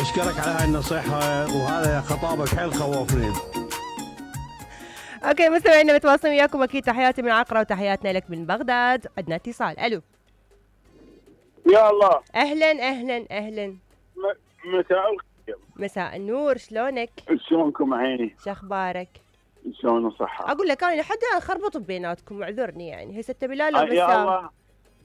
اشكرك على هاي النصيحة، وهذا خطابك حيل خوفني. اوكي مستمعينا متواصلين وياكم اكيد، تحياتي من عقرة وتحياتنا لك من بغداد. عندنا اتصال. الو. يا الله. اهلا اهلا اهلا. مساء الخير. مساء النور، شلونك؟ شلونكم عيني؟ شخبارك؟ شلون الصحة؟ اقول لك انا حدا خربط بيناتكم، اعذرني يعني. هسه انت بلال ولا يا بسام؟ الله.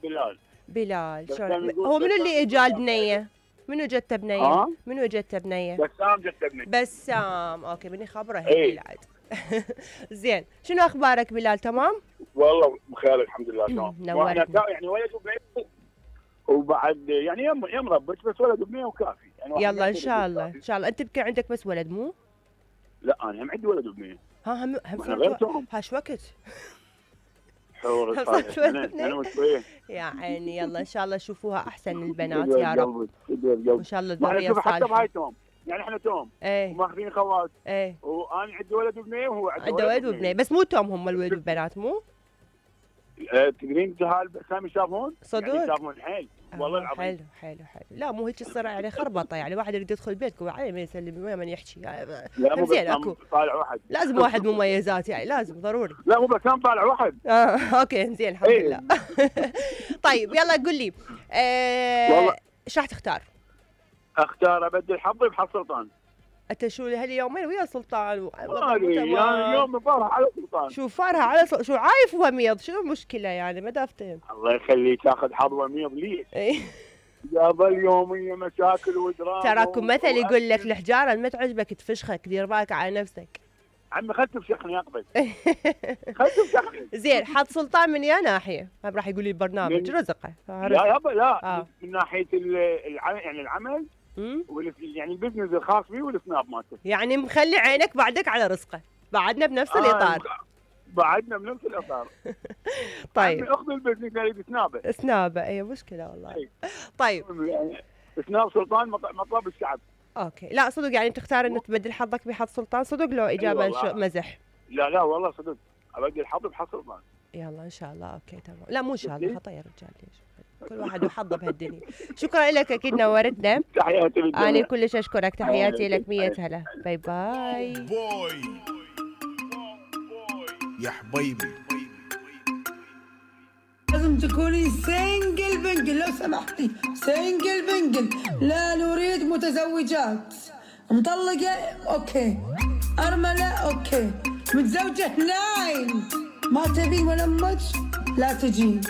بلال. بلال. شلون هو منو اللي اجى البنيه؟ منو جته بنيه؟ منو جته بنيه؟ بسام جته بنيه. بسام. اوكي بني خبره هيك بعد. زين، شنو اخبارك بلال؟ تمام؟ والله بخير الحمد لله. تمام. نورتنا. يعني ولد وبنيه وبعد يعني يم ربك، بس ولد وبنيه وكافي يعني. يلا ان شاء الله ان شاء الله. انت بكي عندك بس ولد مو؟ لا انا هم عندي ولد وبنيه. ها هم غيرتهم. هاش وقت حور انا يا عيني. يلا ان شاء الله شوفوها احسن البنات يا رب، وان شاء الله الذريه الصالحه. حتى بهاي توم، يعني احنا توم وماخذين خوات. وانا عندي ولد وبنيه وهو عنده ولد وبنيه، بس مو توم هم الولد والبنات مو؟ تدرين جهال سامي يشافون؟ صدق؟ يعني يشافون حيل والله العظيم. حلو حلو حلو. لا مو هيك تصير يعني خربطه، يعني واحد يريد يدخل بيتك وعليه ما يسلم وين من يحكي. لا مو زين اكو طالع واحد، لازم واحد مميزات يعني، لازم ضروري. لا مو بس كان طالع واحد. اوكي زين الحمد لله. طيب يلا قل لي ايش راح تختار؟ اختار ابدل حظي بحظ سلطان. انت شو هاليومين ويا سلطان يعني يوم فارها على سلطان. شو فارها على شو عايف وميض؟ شنو المشكله يعني؟ ما دافتهم. الله يخليك تاخذ حظ وميض ليش؟ يابا اليوميه مشاكل ودراما. تراكم مثل يقول لك الحجاره ما تعجبك تفشخك، دير بالك على نفسك. عمي خلت تفشخني اقبل. خلت تفشخني. زين، حظ سلطان من يا ناحيه؟ ما راح يقول لي البرنامج رزقه. لا يابا لا. من ناحيه يعني العمل يعني البزنس الخاص بي والسناب مالته. يعني مخلي عينك بعدك على رزقه. بعدنا بنفس الاطار. بعدنا بنفس الاطار. طيب اخذ البزنس يريد سنابه. سنابه اي مشكله والله. طيب يعني سناب سلطان مطلب الشعب. اوكي. لا صدق يعني تختار انك تبدل حظك بحظ سلطان؟ صدق لو اجابه مزح؟ لا والله صدق ابدل حظي بحظ سلطان. يلا ان شاء الله. اوكي تمام. لا مو ان شاء الله، خطا يا رجال. ليش كل واحد وحظه بهالدنيا. شكرا لك اكيد نورتنا. تحياتي لك. انا كلش اشكرك. تحياتي لك 100 هلا. باي باي. يا حبيبي لازم تكوني سنجل بنجل لو سمحتي. سنجل بنجل، لا نريد متزوجات. مطلقة اوكي، ارملة اوكي، متزوجة ناين. ما تبين ولا امك لا تجين.